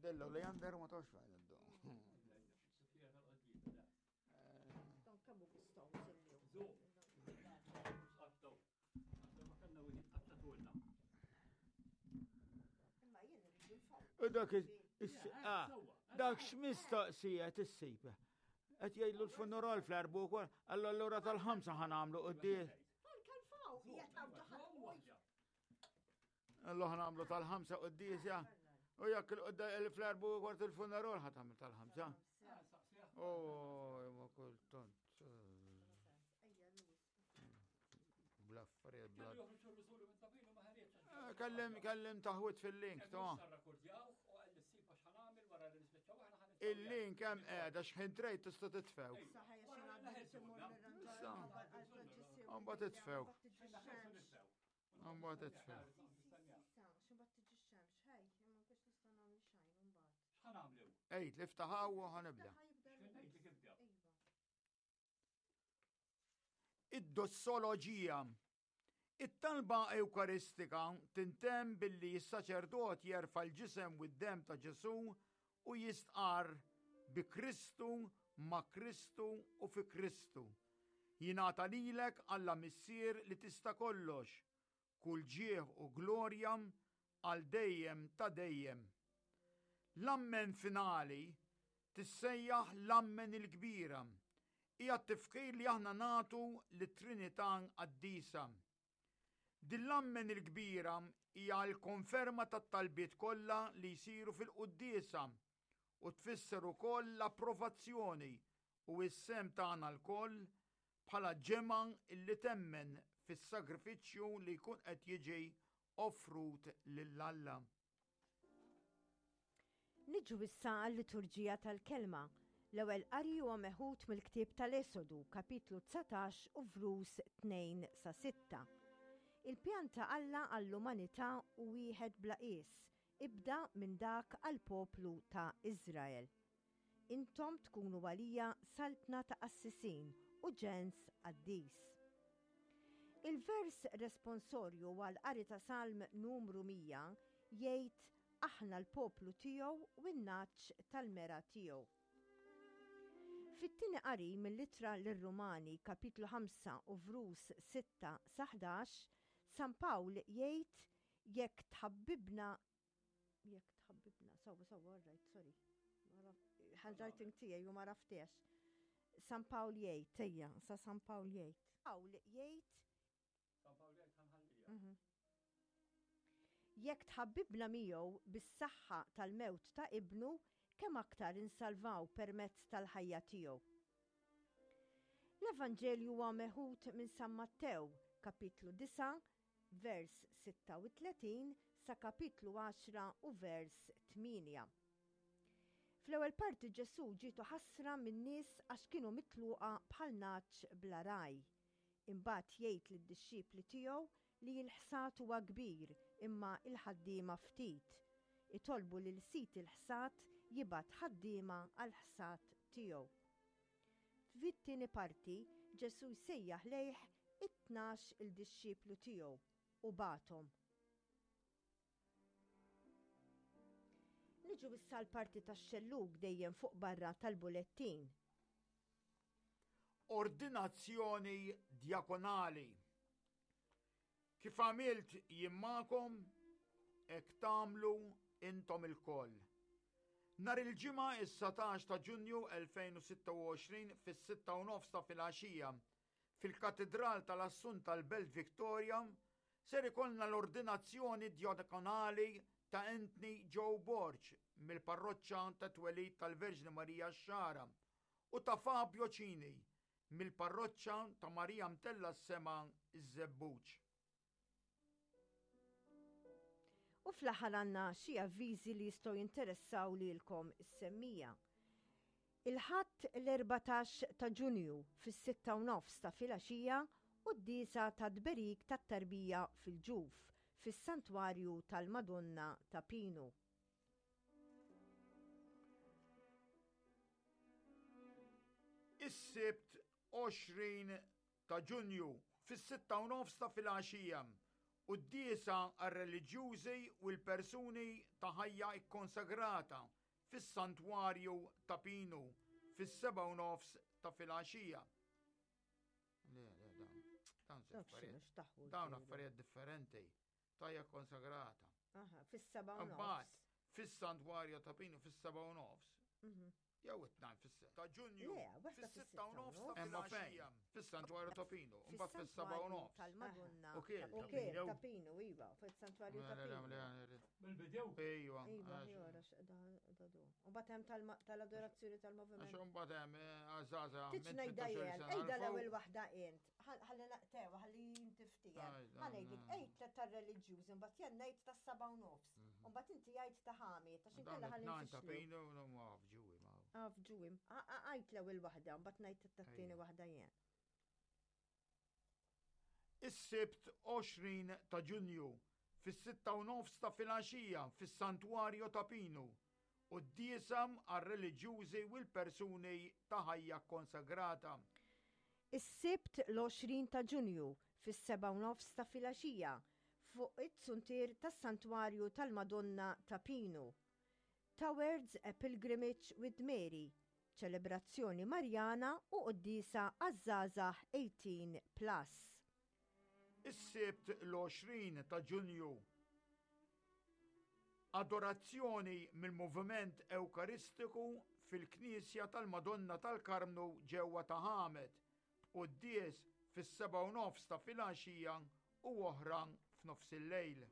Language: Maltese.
Ħdella Leander ma tafx fejn iddu. U dak ah, dak x'mistoqsija tissib. Qed jgħidlu l-funeral fl-erbu wkoll, allura tal-ħamsa ħanamlu quddiem. Allura ħanamlu tal-ħamsa quddieżja. U jekk il-fl-erbu kwart il-funeral ħa tagħmel tal-ħamsa. Oh, ma kultant. Bla affarijiet bla. Eh, kellem, kellem taħwit fil-link, ta' Il-link hemm qiegħda x'ħin trejt tista' titfew. Issa. Mbagħad titfew. Mbagħad titfew. Ejt, li ftaħaw u ħanibda. Id-dossoloġija. It-talba Ewkaristika tintemm billi s-saċerdot jerfa' l-ġisem u d-demm ta' Ġesù u jistqarr, Bi Kristu, ma' Kristu u fi Kristu. Jingħata lilek, Alla Missier li tista' kollox, kull ġieħ u glorja għal dejjem ta' dejjem. L-Ammen finali tissejjaħ l-Ammen il-Kbira. Hija t-tifħir li aħna nagħtu lit-Trinità Qaddisa. Din l-Ammen il-Kbira hija l-konferma tat-talbiet kollha li jsiru fil-quddiesa u tfisser ukoll l-approvazzjoni u s-sehem tagħna lkoll bħala ġemgħa li temmen fis-sagrifiċċju li jkun qed jiġi offrut lil Alla. Niġu issa għal-liturġija tal-kelma. L-ewwel qari huwa meħud mill-ktieb tal-Esodu, kapitlu 19 u vrus 2 sa 6. Il-pjan ta' Alla għall-umanità hu wieħed bla qies, ibda minn dak għall-poplu ta' Iżrael. Intom tkunu għalija saltna ta' qassisin u ġens qaddis. Il-vers responsorju għall-qari ta' Salm numru 100 jgħid aħna l-poplu tiegħu u n-nagħaġ tal-mergħa tiegħu. Fit-tieni qari mill-Ittra lir-Rumani kapitlu 5 u vrus 6 sa 11, San Pawl jgħid jekk tħabbibna Jekk tħabbibna, sawa, sawa, all right, sorry. Handwriting tiegħi u ma raftex. San Pawl jgħid, ejja, sa San Pawl jgħid. Pawl jgħid. San Pawl jgħid ħanħallija. Mhm. Jekk tħabbibna miegħu bis-saħħa tal-mewt ta' ibnu, kemm aktar insalvaw permezz tal-ħajja tiegħu. L-Evanġelju huwa meħud minn San Mattew, kapitlu 9, vers 36 sa kapitlu 10 u vers 8. Fl-ewwel parti Ġesù ġietu ħasra min-nies għax kienu mitluqa bħal nagħaġ bla ragħaj. Imbagħad jgħid lid-dixxipli tiegħu li l-ħsad huwa kbir imma l-ħaddiema ftit. Itolbu lil Sid il-ħsad jibgħat ħaddiema għall-ħsad tiegħu. Fit-tieni parti, Ġesù jsejjaħ lejh it-tnax il dixxiplu tiegħu u bagħathom. Niġu issa l-parti tax-xellug dejjem fuq barra tal-bulettin. Ordinazzjoni djakonali. Kif għamilt jien magħkom, hekk tagħmlu intom ilkoll. Nhar il-Ġimgħa is-19 ta' Ġunju 2026 fis-sitta u nofs ta' filgħaxija, fil-Katidral tal-Assunta l-Belt Victoria, ser ikollna l-ordinazzjoni djakonali ta' Anthony Joe Borg mill-Parroċċa tat-Twelid tal-Verġni Marija x-Xagħra u ta' Fabio Cini mill-Parroċċa ta' Marija Mtellgħa s-Sema ż-Żebbuġ. U fl-aħħar għandna xi avviżi li jistgħu jinteressaw lilkom is-semmija. Il-Ħadd l-14 ta' Ġunju fis-sitta u nofs ta' filgħaxija quddiesa ta' tberik tat-tarbija fil-ġuf fis-Santwarju tal-Madonna ta' Pinu. Is-Sibt 20 ta' Ġunju fis-6 u nofs ta' filgħaxija. Quddiesa għar-reliġjużi u l-persuni ta' ħajja kkonsagrata fis-Santwarju Ta' Pinu fis-7:30 ta' filgħaxija. Le, le, dawn. Dawn Dak x'inhu x'taħwid. Dawn affarijiet differenti. Tajja konsagrata. Aha, fis-seba' u Imbagħad nofs. fis-Santwarju ta' Pinu fis-7 u nofs. Jew it-tnajn fis ta' Ġunju. Le, waħda fis-sitta fis-sitta u u nofs nofs. ta' filgħaxija. Fis-Santwarju ta' Pinu. Imbagħad fis-7 u nofs. Tal-Madonna. U kiel, U ta' kiel Pinu. ta' Pinu, iva, fis-Santwarju ta' Le, le, Pinu. le, le. Bil-bidew. Ejwa. Iva, għax- jora, x'da du. U bat hemm tal-adorazzjoni tal-moviment. Għax imbagħad hemm għażaża. Tiċ minn ngħidha 18 jien, sena ejda 'l l-ewwel fuq. waħda int. Ħalli naqtewa, ħalli inti ftiehem. Aj, Ħa ngħidlek, dan, għid tar-reliġjużi, mbagħad jien ngħid tas-seba' u nofs. U mbagħad inti jgħid ta' ħami, ta' Mhm. xi Dawn nkella ħalli it-tnajn ta' nfixlu. Pinu, no, ma fġuwi, ma. Ah, fġuwi. Għid l-ewwel waħda, mbagħad ngħid tat-tieni Ejja. waħda jien. Is-Sibt 20 ta' Ġunju, fis-6:30 ta' filgħaxija fis-Santwarju ta' Pinu, quddiesa għar-reliġjużi u l-persuni ta' ħajja kkonsagrata. Is-Sibt l-20 ta' Ġunju, fis-7:30 ta' filgħaxija, fuq it-zuntier tas-Santwarju tal-Madonna ta' Pinu. Towards a Pilgrimage with Mary, ċelebrazzjoni Marjana u quddiesa għaż-żgħażagħ 18 plus. Is-Sibt l-20 ta' Ġunju, Adorazzjoni mill-Moviment Ewkaristiku fil-Knisja tal-Madonna tal-Karmnu ġewwa Ta' Ħamed, b'quddies fis-7:30 ta' filgħaxija u oħra f'nofsillejl.